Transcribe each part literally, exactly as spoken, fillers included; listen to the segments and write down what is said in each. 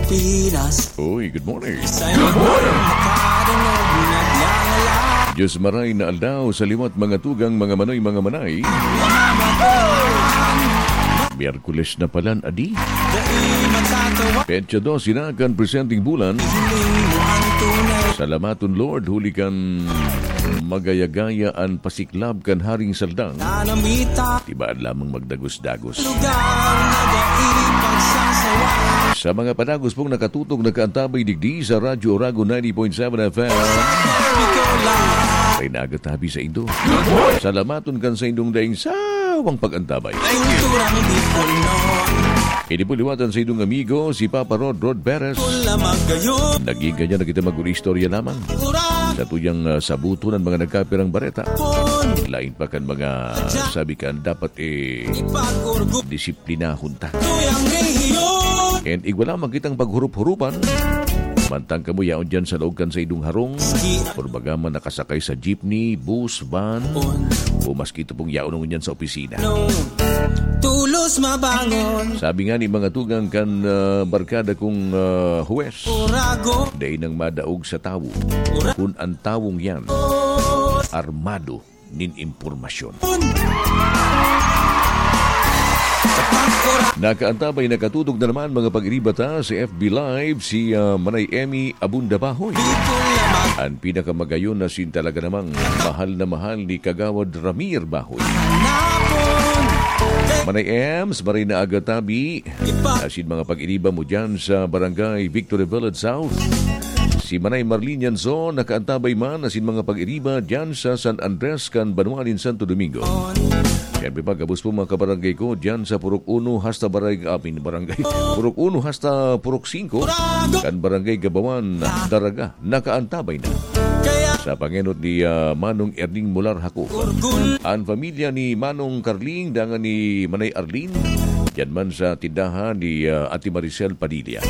Pinas. Uy, good morning. Sa iyo makadangog, naglalala. Diyos maray na aldaw sa liwat, mga tugang, mga manoy, mga manay. Miyerkules na palan, adi. Dai matatawa. Petsa dose na kan presenteng bulan. Hiling mo ang tunay. Salamaton, Lord, huli kan magaya-gaya an pasiklab kan Haring Saldang. Nanamita. Tibaan lamang magdagos-dagos. Lugar na dai pagsasawa. Sa mga padagos pong nakatutok, nakaantabay digdi sa Radyo Oragon ninety point seven F M. Sa Bicol lang. May nagatabi sa indo. Salamaton kan sa indong daing sawang pag-antabay. Kulturang Bicol noon. Ini po liwatan sa indong amigo, si Papa Rod, Rod Perez. Wala magayon. Naging ganyan na kita mag-istorya lamang. Ura. Sa tuyang, ah, sabuton ang mga nagkapirang bareta. Pon. Lain pa kan mga sabi kan dapat, eh, Ipag-orgo. Disiplinahon ta. Tuyang rehiyon. And igwa lamang kitang paghurup-hurupan. Mantang kamo yaon dyan sa laog kan sa idong harong, Ski. Or baga man nakasakay sa jeepney, bus, van, Pon. O maski ito pong yaon ngunyan sa opisina. No. Tulos mabangon. Sabi nga ni mga tugang kan, ah, barkada kong, ah, huwes, Urago. Dai nang madaog sa tawo. Ura- Kun an tawong yan, armado nin impormasyon. Nakaantabay, nakatutok na naman, mga pag-iriba ta, sa F B Live, si, ah, Manay Emmy Abunda Bahoy. An pinakamagayon na sin talaga namang mahal na mahal ni Kagawad Ramir Bahoy. Manay Ems, maray na aga tabi. Asin mga pag-iriba mo dyan sa Barangay Victory Village South. Si Manay Marlene Yanzon, nakaantabay man asin mga pag-iriba dyan sa San Andres kan banwa nin Santo Domingo. Siyempre pa, gabos po mga kabarangay ko dyan sa Purok Uno hasta Barangay, amin, Barangay. Purok Uno hasta Purok Singko kan Barangay Gabawan, Daraga, nakaantabay na. Sa pangenot ni, ah, Manong Erning Mular Hako. An pamilya ni Manong Carling, dangan ni Manay Arlene, diyan man sa tindahan ni, ah, Ate Maricel Padilla.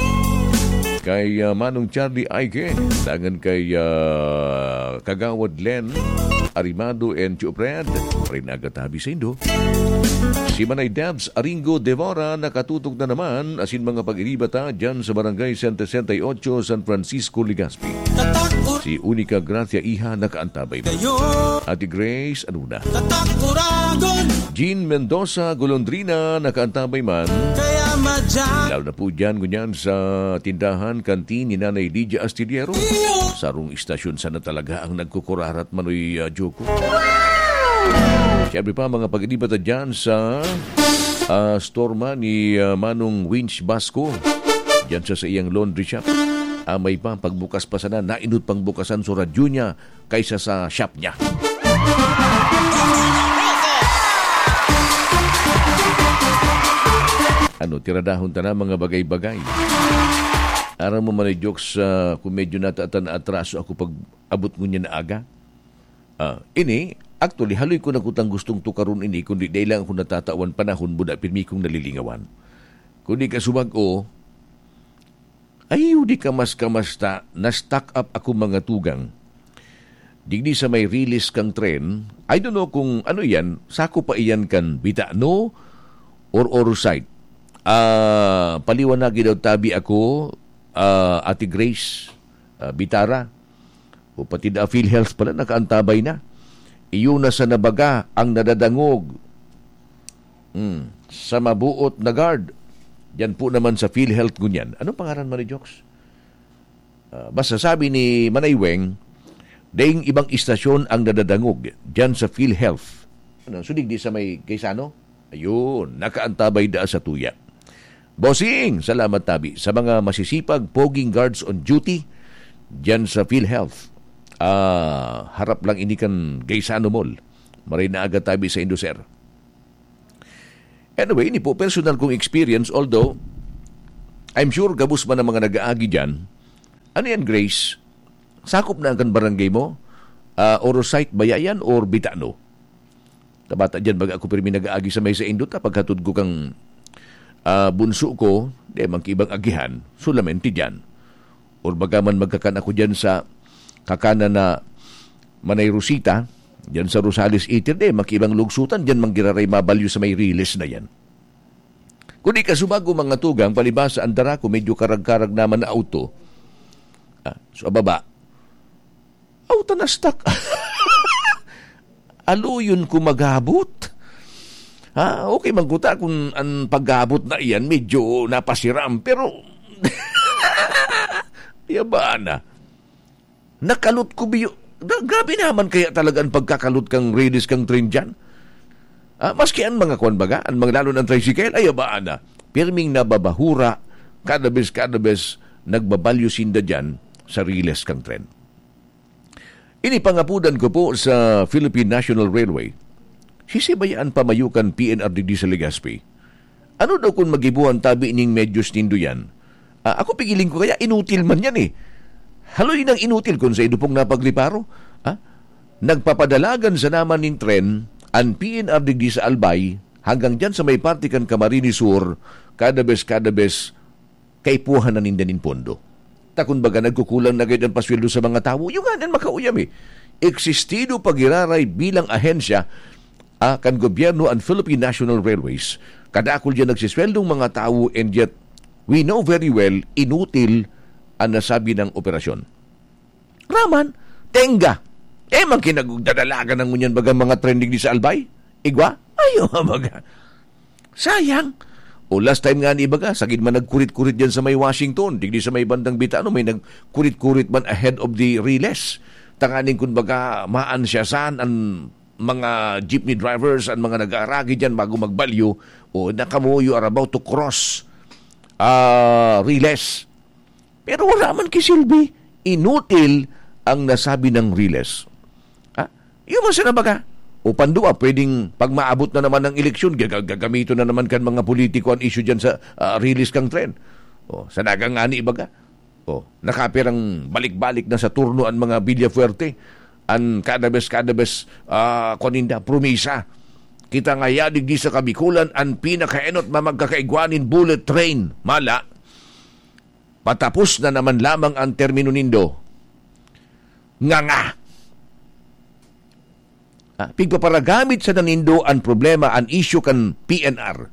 Kay, ah, Manong Charlie Aike, dangan kay, ah, Kagawad Len Arimado and Tio Fred, maray na aga tabi sa indo. Si Manay Debs Aringo Devora nakatutok na naman, asin mga pag-iriba ta dyan sa Barangay sesenta y ocho, San Francisco, Legazpi. Si Unica Gracia Iha nakaantabay. Ate Grace, ano na? Jean Mendoza Golondrina nakaantabay man. Lalo na po dyan, ngunyan sa tindahan, kantin ni Nanay Lydia Astillero. Sarong istasyon sana talaga ang nagkukurarat, Manoy, ah, Joko. Siyempre pa, mga pag-iriba ta dyan sa, ah, store man ni, ah, Manong Winch Basco. Diyan sa, sa iyang laundry shop. Amay pa, pagbukas pa sana, nainot pang bukasan so radyo niya kaysa sa shop niya. Ano, tiradahon ta na mga bagay-bagay. Aram mo man, jokes, ah, kung medyo natatan na atraso ako pag abot ngunyan na aga. Ah, ini, actually, haloy ko na kutang gustong tukaron ini, kundi dai lang ako natatawan panahon, buda pirmi kong nalilingawan. Kundi kasubag o, ay, di ka mas kamasta, na-stuck up ako, mga tugang. Digdi sa may release kang tren, I don't know kung ano iyan, sako pa iyan kan Bitano or Orosite. Ah, paliwanagi daw tabi ako, ah, Ate Grace, ah, Bitara. O pati da PhilHealth pala, nakaantabay na. Iyo na sa nabaga ang nadadangog. Hmm, sa mabuot na guard. Diyan po naman sa PhilHealth ngunyan. Anong pangaran man ni Jokes? Ah, basta sabi ni Manay Weng, daing ibang istasyon ang nadadangog diyan sa PhilHealth. Ano, sudig di sa may Gaisano? Ayun, nakaantabay da sa tuya. Bossing, salamat tabi sa mga masisipag poging guards on duty diyan sa PhilHealth. Ah, harap lang ini kan Gaisano Mall. Maray na aga tabi sa indo, sir. Anyway, ini po personal kong experience, although I'm sure gabos man ang mga nag-aagi diyan. Ano yan, Grace? Sakop na ang kan barangay mo? Ah, Orosite ba yan or Bitano? Kabata diyan, baga ako pirmi nag-aagi sa may sa indot, ah, paghatod ko kang, ah, bunso ko, di man kaibang agihan, solamente diyan. Or baga man magkakan ako diyan sa kakanan na Manay Rosita, diyan sa Rosales Eatery, di man kaibang lugsutan, diyan man giraray mabalyo sa may riles na yan. Kung di ka sumago, mga tugang, palibasa an dara ko, medyo karag-karag naman na auto. Ah, so, ababa. Auto na stuck. Aluyon ko magabot. Ha? Okay man kuta kung an pagabot na iyan, medyo napasiram. Pero, yaba na. Nakalot ko biyo. Gra-, grabe naman kaya talaga ang pagkakalot kang rilis kang tren dyan. Ah, maski ang mga kwan baga, ang mga lalo ng tricycle, ay abaan na. Pirming nababahura, kada bes, kada bes, nagbabalyo sinda dyan sa riles kang tren. Ini pangapudan ko po sa Philippine National Railway. Sisibayaan pa mayo kan P N R digdi sa Legazpi. Ano daw kun magibuhan tabi ning medyos nindo yan? Ah, ako pigiling ko kaya inutil man yan eh. Haloy nang inutil kun sa idupong napagriparo. Ah? Nagpapadalagan sa naman nin tren an P N R digdi sa Albay hanggang dyan sa may parte kan Camarines Sur, kada bes, kada bes, kaipuhan na ninda nin pondo. Ta kun baga nagkukulang na gayud an pasweldo sa mga tawo, yung nga nan makauyam eh. Existido pagiraray bilang ahensya ah, kan gobyerno an Philippine National Railways. Kadakul diyan nagsisweldong mga tawo, and yet we know very well inutil an nasabi nang operasyon. Raman, tenga. Eh, man kinagdadalagan ng ngunyan baga mga trending di sa Albay? Igwa? Ayo, baga. Sayang. O last time nga ni baga, sagid man nagkurit-kurit diyan sa may Washington, digdi sa may bandang Bitano, may nagkurit-kurit man ahead of the riles. Tanganing kun baga, maan siya saan an mga jeepney drivers, an mga nag-aaragi diyan bago magbalyo, o na kamo, you are about to cross, ah, riles. Pero wala man kisilbi. Inutil ang nasabi ng riles. Ha? Yun man sana baga. O pandua, pwedeng pag maabot na naman ang eleksyon, gaga-, gagamiton na naman kan mga politiko ang issue dyan sa, ah, riles kang tren. O, sa dagang ani baga. O, nakapirang balik-balik na sa turno ang mga Villafuerte. An kada bes, kada bes, ah, kuwan ninda, promisa. Kita ngaya digdi sa Kabikulan, an pinakaenot na magkakaigwa nin bullet train. Mala, patapos na naman lamang ang termino nindo. Nganga. Ah, pigpaparagamit sana nindo an problema, an issue kan P N R.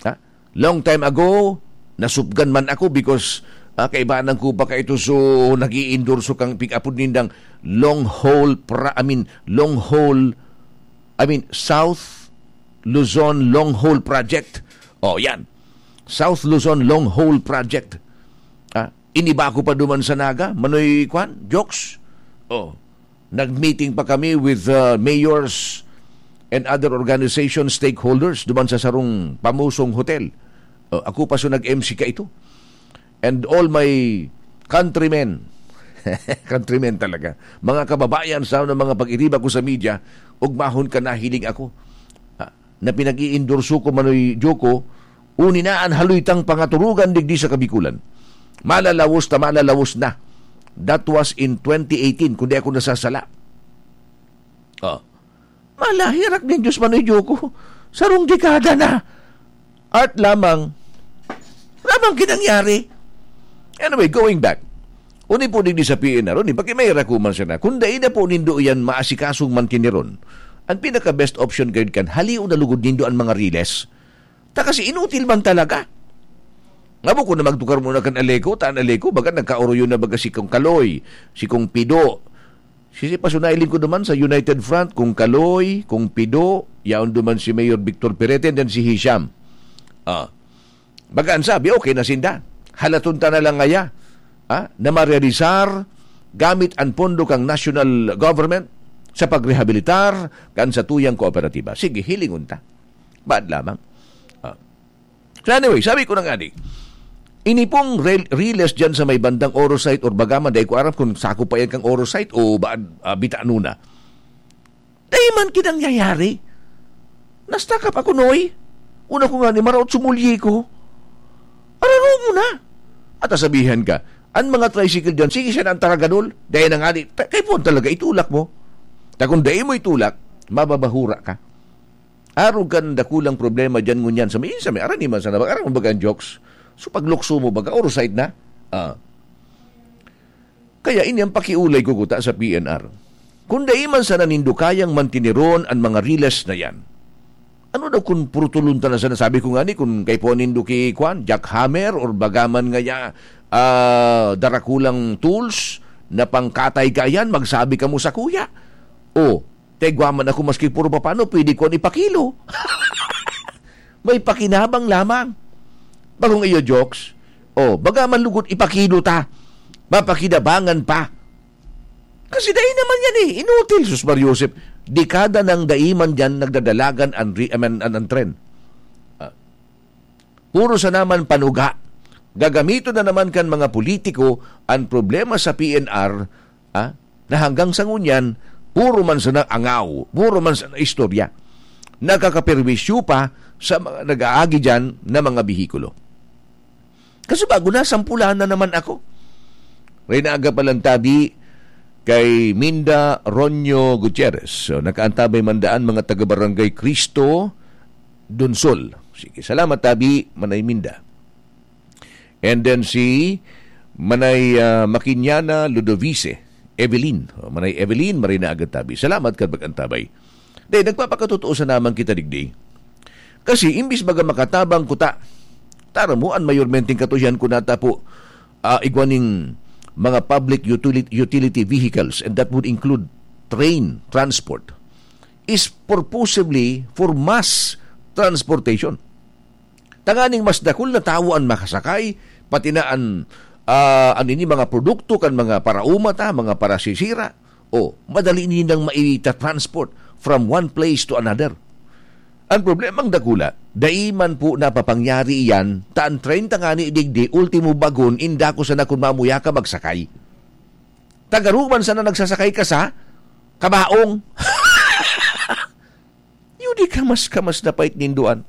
Ha? Long time ago, nasupgan man ako because, ah, kaibanan ko pa kaito, so nag-iendorso kang pig-apod nindang long haul pra-, I mean, long haul, I mean, South Luzon Long Haul Project. Oh, yan. South Luzon Long Haul Project. Ah, iniba ko pa duman sa Naga, Manoy Kwan, jokes. Oh, nag-meeting pa kami with, uh, mayors and other organization stakeholders duman sa sarong pamusong hotel. Oh, ako pa so nag-M C kaito. And all my countrymen, countrymen talaga, mga kababayan sa mga pag-iriba ko sa media, ugmahon ka nahiling ako. Ha? Na pinag-iendorso ko, Manoy Joko, uni na an haloy tang pangaturugan digdi sa Kabikulan. Malalawos ta, malalawos na. That was in twenty eighteen, kung di ako nasasala. Oh. Malahirak nin Diyos, Manoy Joko. Sarong dekada na. Art lamang. Lamang kinangyari. Anyway, going back. Uni po digdi sa P N R, uni, pakimaira ko man sana. Kung dai na po nindo yan maasikasong mantineron, ang pinaka-best option gayud kan, halion na lugod nindo ang mga riles. Ta kasi inutil man talaga. Ngabo ko na magtukar muna kan Aleco, ta an Aleco, baga nagkaoroyon na baga si Kong Kaloy, si Kong Pido. Si, si Pasunay Lingkod naman sa United Front, Kong Kaloy, Kong Pido, yaon duman si Mayor Victor Perete, and then si Hisham. Ah. Baga an sabi, okay na sinda. Halaton ta na lang ngaya, ah, na marealisar gamit an pondo kang national government sa pagrehabilitar kan satuyang kooperatiba. Sige, hilingon ta. Bad lamang. Ah. So anyway, sabi ko na nga di, ini pong rel-, riles dyan sa may bandang Orosite or Bagaman, dahil ko aram kung sako pa yan kang Orosite o ba, ah, Bitano na. Dai man kinangyayari. Nastakap ako, Noy. Una ko nga ni maraot sumulyi ko. Araro mo na. At asabihan ka, ang mga tricycle dyan, sige siya na ang taragadol. Dahil na nga di, ta-, kay puwan talaga, itulak mo. Ta kung dai mo itulak, mababahura ka. Arog kan dakulang problema dyan ngunyan sa may, sa may, arani man sana, arang baga ang jokes. So, paglukso mo, baga, Orosite na. Ah. Kaya ini ang pakiulay ko kuta sa P N R. Kung dai man sana nindo kayang mantineron an mga riles na yan, Ano daw kun purutulon ta na sana? Sabi ko nga ni, kun kaipuhan nindo ki, kwan, jackhammer or bagaman ngaya, ah, darakulang tools na pangkatay kaiyan, magsabi kamo sakuya. O, ta igwa man ako maski puro papano, pwede ko an ipakilo. May pakinabang lamang. Bagong iyo, jokes. O, bagaman lugod ipakilo ta. Mapakinabangan pa. Kasi dai naman yan eh. Inutil, sus Mar Joseph. Dekada nang dai man dyan nagdadalagan an, re- I mean, an, an tren. Ah, puro sa naman panuga. Gagamiton na naman kan mga politiko an problema sa P N R, ah, na hanggang sa ngunyan, puro man sana angaw, puro man sana istorya. Nakakaperwisyo pa sa mga nag-aagi dyan na mga bihikulo. Kaso bago na, sampulan na naman ako. Reyna Aga Palantabi kay Minda Ronyo Gutierrez. So, nakaantabay man daan mga taga-barangay Cristo, Donsol. Sige, salamat, Tabi, Manay Minda. And then si Manay, ah, Makinyana Ludovice, Evelyn. O, Manay Evelyn, Marina Agatabi. Salamat kan pag-antabay. Dahil nagpapakatotoo sa naman kita digdi. Kasi imbis baga makatabang kuta, tara mo, an mayormenteng katuyan ko nata po, ah, igwa ning mga public utility, utility vehicles, and that would include train transport, is purposively for mass transportation. Tanganing mas dakul na tawo an makasakay, pati na an, ah, an ini mga produkto kan mga parauma ta, mga parasisira. O, madali nindang maita-transport from one place to another. An problemang dakula, dai man po napapangyari iyan, ta an train tangani digdi, ultimo bagon, inda ko sana kun mamuya ka magsakay. Tagaruman sana nagsasakay ka sa kabaong. Yun di kamas-kamas na pait ninduan.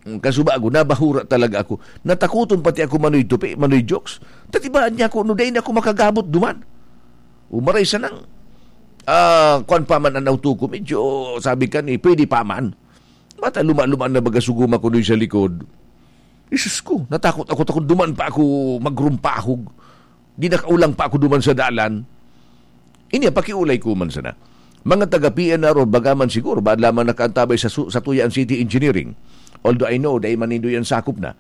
Ang kasubago, nabahura talaga ako. Natakuton pati ako manoy tupi, manoy jokes. Tatibaan niya ako, no, dai na ako makagabot duman. Umaray sanang, ah, kwan pa man an auto ko, medyo, sabi ka ni, pwede pa man. Mata luma-luma na baga suguma ko doy sa likod. Jesus ko, natakot ako, takot duman pa ako magrumpahog. Di nakaulang pa ako duman sa dalan. Ini, pakiulay ko man sana. Mga taga P N R o baga man siguro, baad lamang nakaantabay sa su-, sa Tuyan City Engineering. Although I know, dai man nindo yan sakop na.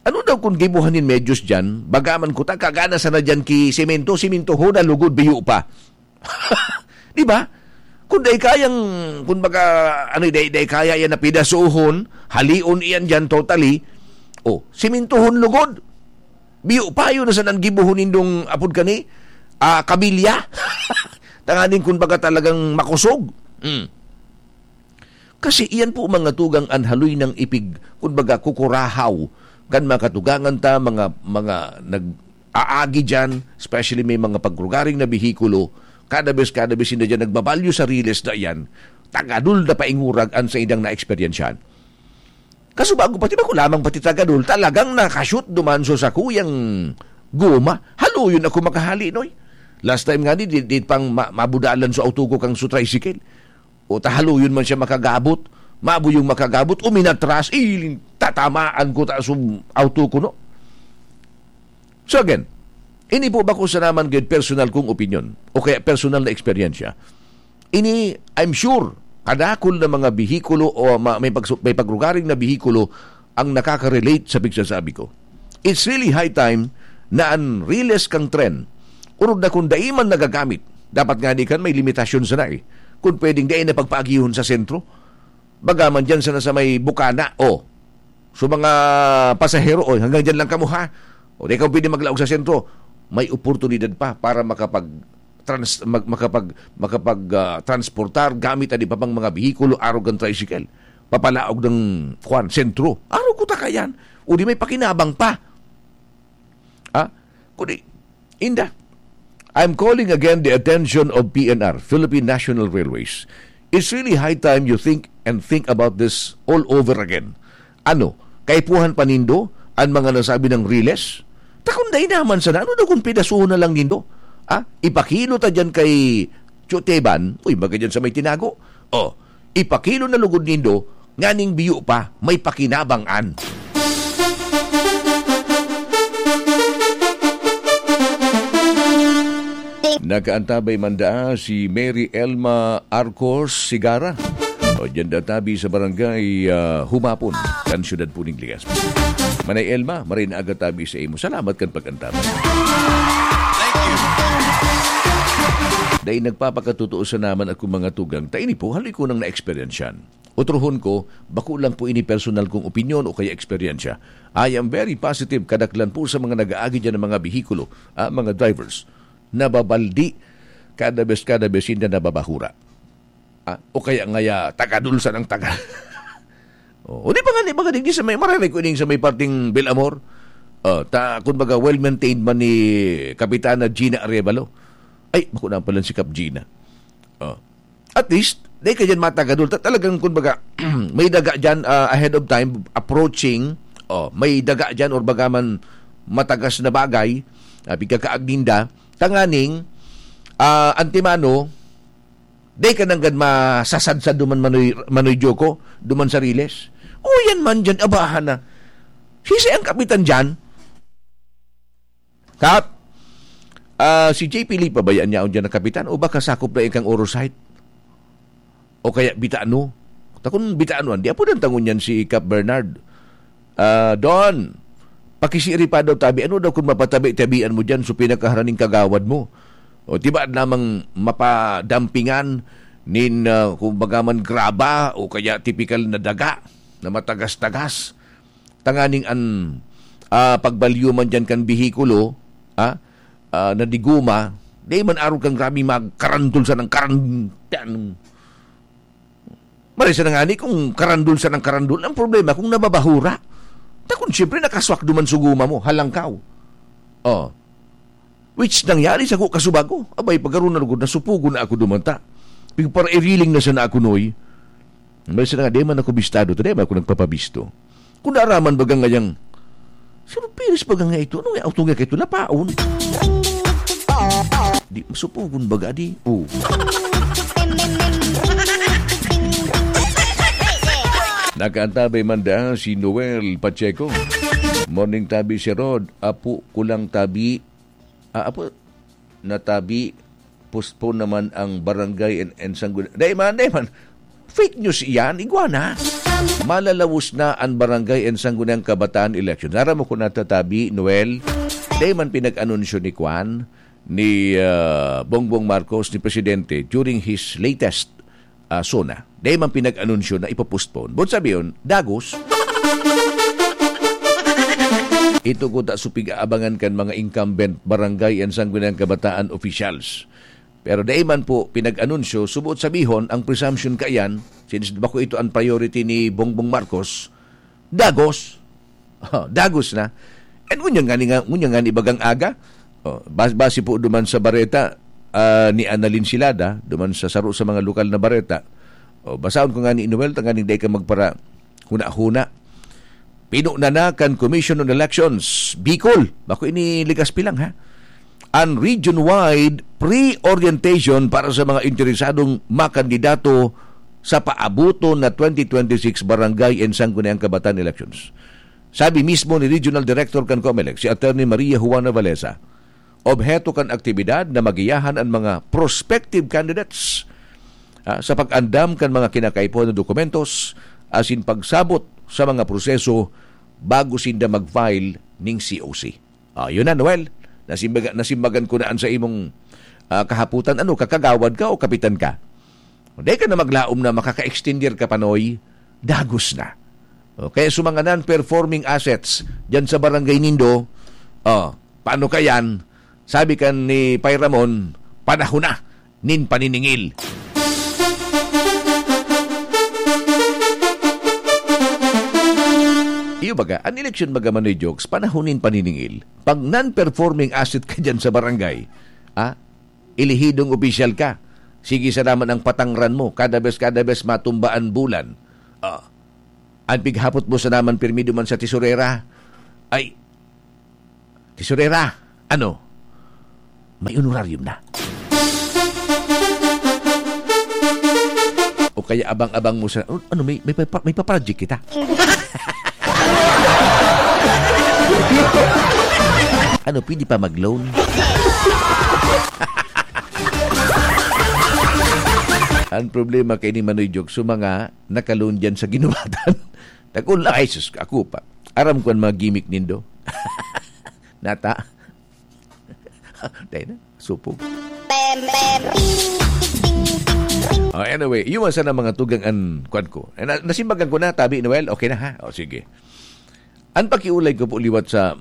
Ano daw kung gibuhan nin medyos dyan? Baga man kuta, kagana sana dyan ki semento, sementohon na lugod, biyo pa. Di ba? Kung dai kayang, kung baga, ano, dai, dai kaya yan na pidasohon, halion iyan dyan totally, o, sementohon lugod. Biyo pa yun na sa nanggibuhon nindong apod kani, ah, kabilya. Tanganing kun baga talagang makosog. Mm. Kasi iyan po mga tugang an haloy ng ipig, kun baga kukurahaw, kan mga katugangan ta, mga, mga nag-aagi dyan, especially may mga pagrugaring na bihikulo, kada bes, kada bes sinda dyan nagbabalyo sa riles na iyan, tagadol na paingurag an sa idang na-eksperyensyahan. Kaso bago pati ba ko lamang pati tagadol, talagang nakashoot duman so sakuyang goma. Haloyon ako makahali, noy. Last time nga di, di, di pang ma- mabudalan so auto ko kang so tricycle. O tahaloyon man siya makagabot, mabo yung makagabot, uminatras, iling tatamaan ko ta so auto ko, no? So again, ini po bako sa naman gid personal kong opinion o kaya personal na eksperyensya. Ini, I'm sure, kadakol na mga bihikulo o ma- may, pagsu- may pagrugaring na bihikulo ang nakaka-relate sa pigsasabi ko. It's really high time na an riles kang tren, orog na kung dai man nagagamit, dapat nga di kan may limitasyon sana eh, kung pwedeng dai na pagpaagihon sa sentro. Baga man dyan sana sa may bukana, o. So, mga pasahero, oy, hanggang dyan lang kamo, ha? O, di ka pwede maglaog sa sentro. May oportunidad pa para makapag trans-, mag-, makapag-, makapag, ah, transportar gamit an iba pang mga behikulo, arog kan tricycle. Papalaog ng, kwan, sentro. Arog ko ta kayan. O di may pakinabang pa. Ah, kundi, inda. I'm calling again the attention of P N R, Philippine National Railways. It's really high time you think and think about this all over again. Ano, kaipuhan pa nindo an mga nasabi ng riles? Ta kun dai naman sana, ano daw kung pidasuhon na lang nindo? Ah, ipakilo ta dyan kay Tio Teban, uy, baga dyan sa may tinago. O, ipakilo na lugod nindo, nganing biyo pa, may pakinabang an. Nakaantabay man daa si Mary Elma Arcos Sigara. O, diyan da tabi sa barangay, ah, Humapon, kan siyudad po ning Legazpi. Manay Elma, maray na aga tabi sa imo. Salamat kan pag-antabay. Dai nagpapakatotoo sa naman akong mga tugang, ta ini po, haloy ko nang naeksperyensyan. Otrohon ko, bako lang po ini personal kong opinyon o kaya eksperyensya. I am very positive, kadaklan po sa mga nag-aagi dyan ng mga behikulo, ah, mga drivers, nababaldi, kada bes, kada bes, hindi nababahura. Ah, o kaya ngaya, tagadol sa ng taga. Oh, o di ba nga, di ba nga, di sa may, maririnig ko ining sa may parting Belamor? Oh, ta, kumbaga, well-maintained man ni Kapitana Gina Arevalo. Ay, bako na pala si Kap Gina. Oh. At least, di ka dyan matagadol. Ta-, talagang, kumbaga, may daga dyan, ah, ahead of time, approaching, oh, may daga dyan or baga man matagas na bagay, ah, pigkakaagninda, tanganing, ah, antimano, di ka nanggad masasadsad duman manoy, manoy Joko, duman sa Riles. O yan man dyan, abahan na. Sisay ang kapitan dyan? Kap, ah, si J P Lee pa ba yan yaon dyan na kapitan? O baka sakop na ikang Orosite? O kaya Bitano? Takon Bitano, hindi. Apo ng tangon yan si Kap Bernard. Ah, Don, pakisiri pa daw tabi. Ano daw kung mapatabi-tabian mo dyan? So, pinakaharaning kagawad mo. O, di ba namang mapadampingan nin, ah, kumbaga man, graba o kaya tipikal na daga na matagas-tagas? Tanganing an, ah, pagbalyo man diyan kan behikulo, ah, ah, na diguma, di man arog kan grabe magkarandol sa nang karan-, tan-, marisa na nga ni kung karandol sa nang karandol. Ang problema kung nababahura. Ta kung siyempre nakaswak duman sa guma mo, halangkaw. Oh. Which nangyari sa ko kasubago. Abay, pagkaroon na lugod, nasupugon na ako dumanta. Pigparairiling na siya na ako, Noy. Marisa na nga, di man ako bistado, ta di man ako nagpapabisto. Kung naaraman baga ngayang, "Sir Piris baga nga ito? Ano nga auto nga ito? Napaon?" Di masupugon baga, di? Oh. Nakaantabay man da si Noel Pacheco. Morning, tabi si Rod. Apo ko lang tabi. Ah, apo, natabi, postpone naman ang barangay and, and sangguniang. Dai man, dai man. Fake news iyan, igwa na. Malalawos na ang barangay and sangguniang kabataan election. Aram mo kung natatabi, Noel, dai man pinag-anunsyo ni Kwan, ni, ah, Bongbong Marcos, ni Presidente, during his latest, ah, SONA. Dai man pinag-anunsyo na ipopostpone. Buot sabihon, dagos. Ito ko ta supig aabangan kan mga incumbent barangay and sangguniang kabataan officials. Pero dai man po pinag-anunsyo, subuot sabihon, ang presumption kaiyan, since bako ito ang priority ni Bongbong Marcos, dagos. Oh, dagos na. And ngunyan nga ni nga, ngunyan nga ni bagang aga. Oh, bas-, base po duman sa bareta, ah, ni Annalyn Silada, duman sa saro sa mga lokal na bareta. Oh, basahon ko nga ni Noel, tanganing dai ka magpara huna-huna. Pinuna na kan Commission on Elections, Bicol. Bako ini Legazpi lang, ha? An region-wide pre-orientation para sa mga interesadong makandidato sa paabuton na twenty twenty-six Barangay and Sangguniang Kabataan Elections. Sabi mismo ni Regional Director kan Comelec, si Attorney Maria Juana Valesa, obheto kan aktibidad na magiyahan an mga prospective candidates, ah, sa pag-andam kan mga kinakaipuhan na dokumentos asin pagsabot sa mga proseso bago sinda mag-file ning C O C. Ah, yun na, Noel. Nasimbaga-, nasimbagan ko na an sa imong, ah, kahapotan. Ano, kakagawad ka o kapitan ka? Dai ka na maglaom na makaka-extender ka pa, Noy. Dagos na. O, kaya sa mga non-performing assets dyan sa barangay nindo, oh, paano ka yan? Sabi kan ni Pay Ramon, "Panahon na nin paniningil." Iyo baga, an eleksyon baga, Manoy Jokes, panahon nin paniningil. Pag non-performing asset ka dyan sa barangay, ah, elehidong opisyal ka, sige sana man ang patangran mo, kada bes, kada bes matumba an bulan. Ah, an pighapot mo sana man pirmi duman sa tesorera, ay, "Tesorera, ano? May honorarium na." O kaya abang-abang mo sa, "Oh, ano, may, may, may, pa- may pa-project kita." "Ano, pwede pa mag-loan?" Ang problema kay ni Manoy Jokes, so mga nakalon dyan sa ginubatan. Takol lang, ay sus, ako pa. Aram ko ang mga gimmick nindo. Nata. Dahil na, supog. Oh, anyway, yun man sana mga tugang an kwan ko. Eh, na-, nasimbagan ko na, tabi, Noel? Okay na, ha? O, sige. An pakiulay ko po liwat sa,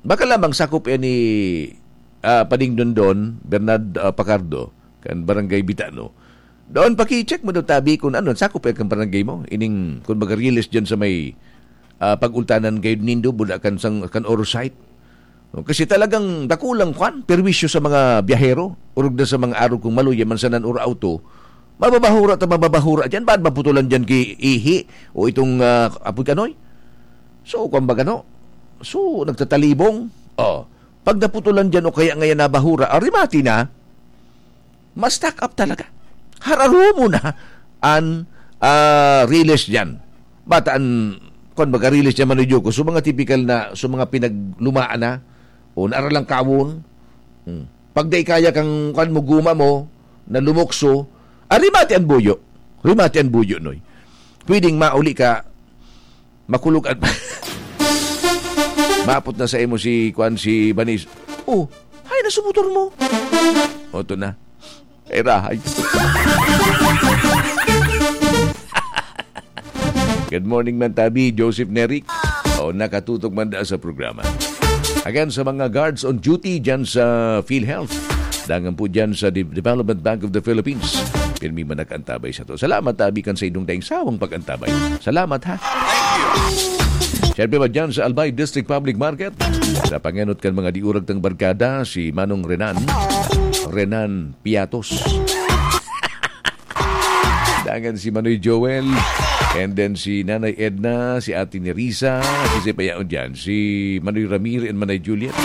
baka lamang sakop yan ni, ah, Pading Dondon, Bernard, ah, Pacardo, kan Barangay Bitano. Doon, paki-check mo daw, tabi, kung ano, sakop yan kan barangay mo. Ining, kung mag-release dyan sa may, ah, pag-ultanan kayo nindo, bula kan, sang, kan Oro site. No, kasi talagang dakulang kwan, perwisyo sa mga biyahero, orog na sa mga arog kong maluya man sa nan or auto, mababahura ta mababahura dyan, ba't maputulan dyan ki ihi o itong, ah, apoy kanoy? So, kwan ba gano? So, nagtatalibong. Oh, pag naputulan dyan o kaya ngayon nabahura, arimati na, ma-stack up talaga. Hararumo na an, ah, riles diyan. Bata an, kwan, baga riles diyan, Manoy Jokes. So, mga tipikal na, so, mga pinaglumaan na, o naaralangkawon. Hmm. Pag dai kaya kang, kwan mo, guma mo, na lumukso, ah, rimati an buyo. Rimati an buyo, Noy. Pwedeng mauli ka, makulog at maapot na sa imo si, kwan, si Banis. Oh, hay na sa motor mo. O, to na. Ay, rahay. Good morning, man tabi, Joseph Neric. O, nakatutok man da sa programa. Again, sa mga guards on duty dyan sa PhilHealth, dangan po dyan sa De-, Development Bank of the Philippines. Pirmi man nag-antabay sa to. Salamat, tabi, kan sa inyong daing sawang pag-antabay. Salamat, ha? Siyempre ba dyan sa Albay District Public Market? Sa pangenot kan mga diurag tang barkada, si Manong Renan, Renan Piatos. Dangan si Manoy Joel, and then si Nanay Edna, si Ate Nerissa, si Sipayaon dyan, si Manoy Ramir and Manay Juliet,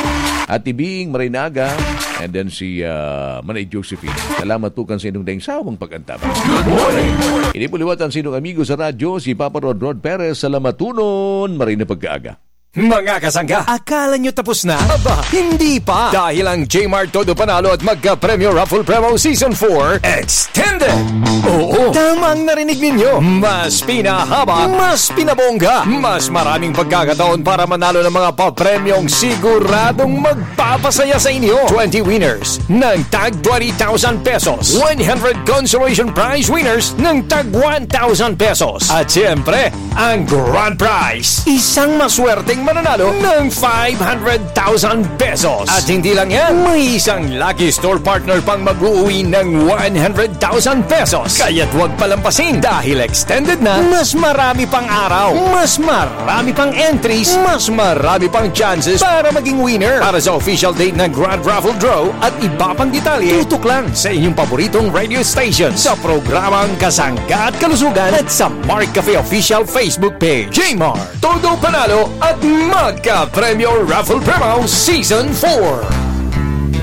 Ate Bing, Maray Naga, and then si, ah, Manay Josephine. Salamat po kan sa inyong daing sawang pag-antabay. Good morning! Ini po liwat an sinong amigo sa radyo, si Papa Rod Rod Perez. Salamat tunon, maray na pagkaaga. Mga kasangga, akala nyo tapos na? Aba, hindi pa! Dahil ang Jmart Todo Panalo at Magka Premyo Raffle Promo Season four Extended! Oo, tama ang narinig ninyo! Mas pinahaba, mas pinabongga, mas maraming pagkakataon para manalo ng mga papremyong siguradong magpapasaya sa inyo. Twenty winners ng tag twenty thousand pesos, one hundred consolation prize winners ng tag one thousand pesos, at siyempre, ang grand prize, isang maswerteng mananalo ng five hundred thousand pesos. At hindi lang yan, may isang lucky store partner pang mag-uuwi ng one hundred thousand pesos. Kaya't huwag palampasin dahil extended na, mas marami pang araw, mas marami pang entries, mas marami pang chances para maging winner. Para sa official date ng Grand Raffle Draw at iba pang detalye, tutok lang sa inyong paboritong radio station sa programang Kasangga at Kalusugan at sa Mark Cafe Official Facebook page. Jmart, Todo Panalo at Magka Premyo Raffle Promo Season four.